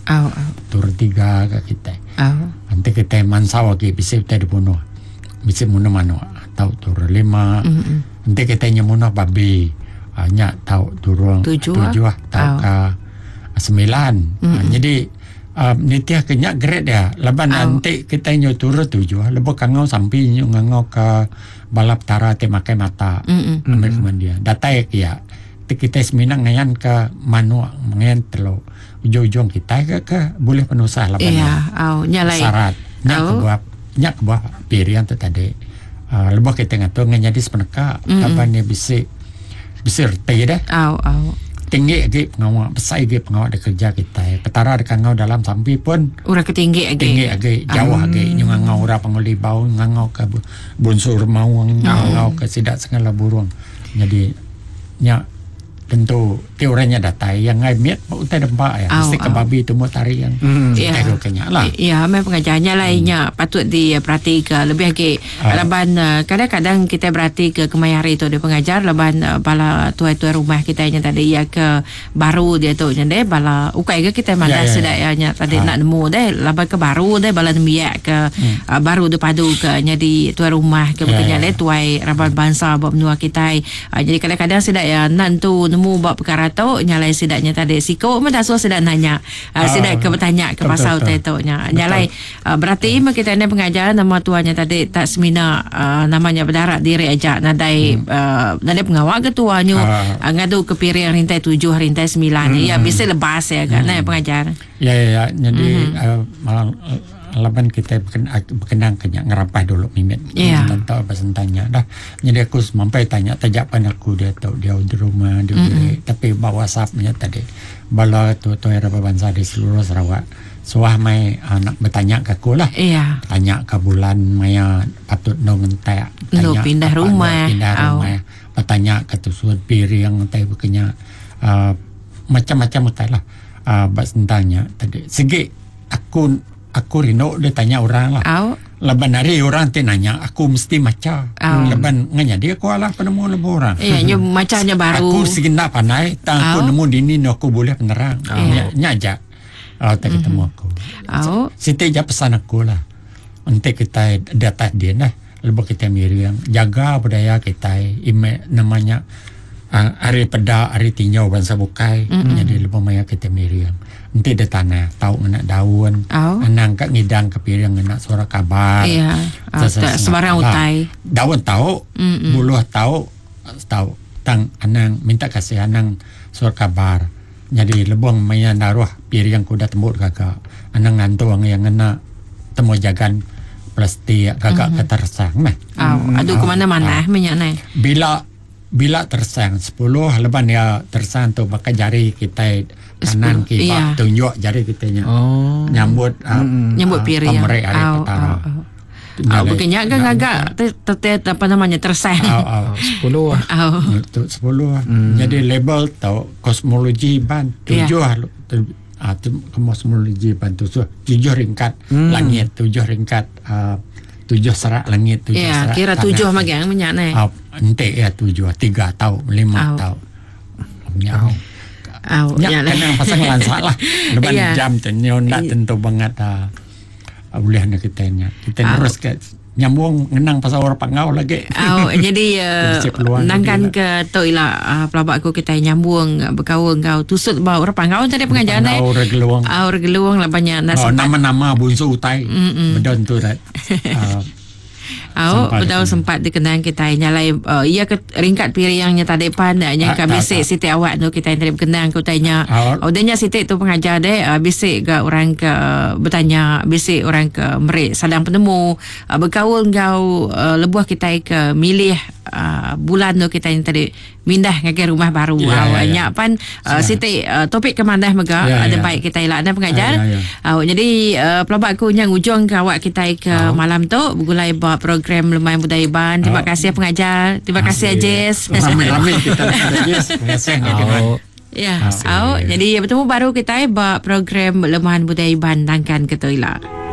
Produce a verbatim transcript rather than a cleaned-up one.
Au au. Turun tiga ke kita. Au. Nanti kita mansau lagi bisa kita dibunuh. Bisa munuh manuk tau turun lima. Mm-mm. Nanti kita nyemunuh babi. Uh, nyak tau turun Tujuh, tujuh tau Au. ke sembilan. Mm-mm. Uh, jadi uh, nitiah kenyak grade dia. Lepas Au. nanti kita nyu turun tujuh. Lepas kangau sampai nyu ngangau ke balap tara te makai mata. Mm-mm. Ambil kemandian. Datai ya. Kita semina ngayan ke manuk, ngayan telur. Ujung-ujung kita ke, ke boleh penusah lah. Iya, au nyalai. Syarat. Nyak Au. kebuah, nyak kebuah pirian tu tadi. Uh, lebih kita ngatur ngan jadi sepeneka. Mm-mm. Kapan dia bisa bisa reti dah. Au au. Tinggi lagi pengawak, besar lagi pengawak dia kerja kita. Petara dia kangau dalam sampi pun Urang ketinggi lagi. tinggi lagi, jauh lagi. Nyu ngangau ura panguli bau, ngangau ke bu- bunsur mawang, ngangau ke sidak segala burung. Jadi nyak tentu ti orangnya datai yang ngai miat utai dempak ya. Au, Mesti ke au. babi tu mau tarik yang Hmm. Ya. yeah. kenyak lah. Ya, memang pengajarnya lainnya hmm. patut diperhati ke lebih lagi. Ah. Laban eh, kadang-kadang kita berhati ke kemaya hari tu dia pengajar laban eh, bala tuai-tuai rumah kita nya tadi ya ke baru dia tu nya deh bala ukai ke kita mana Ya, ya, sudah ya. ya nya tadi Ah. nak nemu deh laban ke baru deh bala nembiak ke hmm. uh, baru dia padu ke nya di tuai rumah ke Ya, berkenya ya. deh tuai raban bangsa buat menua kita. Uh, jadi kadang-kadang sudah ya nan tu nemu buat perkara tu nyalai sidaknya tadi siko mah dah suruh sidak nanya. Uh, Ah. sidak ke bertanya ke Betul, pasal betul. utai tu nya. Nyalai uh, berarti hmm. kita ni pengajar nama tuanya tadi tak semina uh, namanya berdarat diri aja nadai hmm. uh, nadai pengawal ke tuanyo Ah. uh, ngadu ke piring rintai tujuh rintai sembilan hmm. Ya bisa lebas ya kan hmm. pengajar. Ya ya ya. Jadi mm-hmm. uh, malam uh, laban kita berken, berkenang kenyak ngerapah dulu mimit. Ya. Tentang apa tanya dah. Jadi aku sampai tanya tajapan aku dia tahu dia di rumah dia mm-hmm. tapi bawa WhatsAppnya tadi. Bala tu tu era bangsa di seluruh Sarawak. Suah mai anak bertanya ke aku lah. Iya. Tanya ke bulan maya patut no ngentek. No, Tanya pindah apa, rumah. No, pindah Au. rumah. Bertanya ke tusuan piring tai berkenya uh, macam-macam utai lah. Uh, bak tentangnya tadi. Segi aku aku rindu dia tanya orang lah. Au. Leban hari orang ti nanya aku mesti maca. Au. Leban nganya dia aku alah penemu lebu orang. Iya, nyo macamnya baru. Aku segi nak pandai, tang aku Au. nemu dini no aku boleh penerang. Iya. Nya nya aja. Uh, tak ketemu aku. Au. Siti je pesan aku lah. Untuk kita di atas dia lah. Lebih kita miriang. Jaga budaya kita. Ime, namanya uh, hari peda, hari tinjau bangsa bukai. Mm-hmm. Jadi lebih maya kita miriang. Nanti di tanah. Tahu ngena daun. Au. Anang kat ngidang ke piring ngena suara kabar. Iya. Au, tak sembarang Lah, utai. Daun tahu, Mm-mm. buluh tahu, tahu. Tang anang minta kasih anang suara kabar. Jadi lebong maya naruh piring kuda tembuk gagak. Anang ngantung yang ngena temu jagan plastik gagak mm-hmm. ketersang meh. Au, aduh ke mana-mana Ah. minyak ni. Bila bila tersang sepuluh leban dia tersang tu pakai jari kita kanan Sepuluh, kiri iya. tunjuk jari kita nya. Oh. Nyambut uh, Nyambut ah, piring. Pemerik hari Au, petara. au, au. Au, berkenyak kan agak te- te- te- apa namanya tersang. Au, au. Sepuluh lah. Au. Untuk sepuluh. Hmm. Jadi label tau kosmologi ban Ya. tujuh yeah. tu, ah, tu, kosmologi ban tujuh tujuh ringkat hmm. langit tujuh ringkat uh, tujuh serak langit tujuh Ya, serak kira tanah. tujuh magang minyak ni. Ah, ente ya tujuh tiga tau lima Au. tau. Ya. Au, Ya, ya lah. kena pasang lansak lah. Lepas Ya. jam tu nyo nak tentu banget ah, ah, boleh nak kita nya. Kita Au. terus ke nyambung ngenang pasal orang pangau lagi. Au, jadi uh, Jadi peluang nangkan jadi ke tu ila uh, pelabak aku kita nyambung uh, berkaul kau tusut bau orang pangau tadi pengajaran eh. Pangau orang geluang. Au orang geluang lah banyak nak Oh, sempat. nama-nama bunsu utai. Bedon tu rat. Ah, Au, Sempat bedau dikenang. sempat dikenang kita nyalai uh, ia ke ringkat piringnya tadi pan nya Ah, ka tak, bisik tak. siti awak tu kita yang tadi berkenang ku tanya. Ah. Oh, dia siti tu pengajar deh uh, bisik ke orang ke uh, bertanya, bisik orang ke merik sadang penemu uh, berkaul ngau uh, lebuh kita ke milih uh, bulan tu kita yang tadi mindah ngagai rumah baru. Ya, Au, ya, ya. nya pan uh, siti uh, topik ke mandah mega Ya, ada ya. baik kita elak dan pengajar. Ya, ya, ya. Uh, jadi uh, pelabak aku yang ujung ke awak kita ke malam tu bergulai buat program Lumayan Budaya Iban. Terima Oh. kasih pengajar. Terima kasih Ajis. Rame-rame kita nak Ajis. Terima kasih. Oh. Ya. Oh, jadi bertemu baru kita buat program Lemahan Budaya Iban Nangkan Ketuila.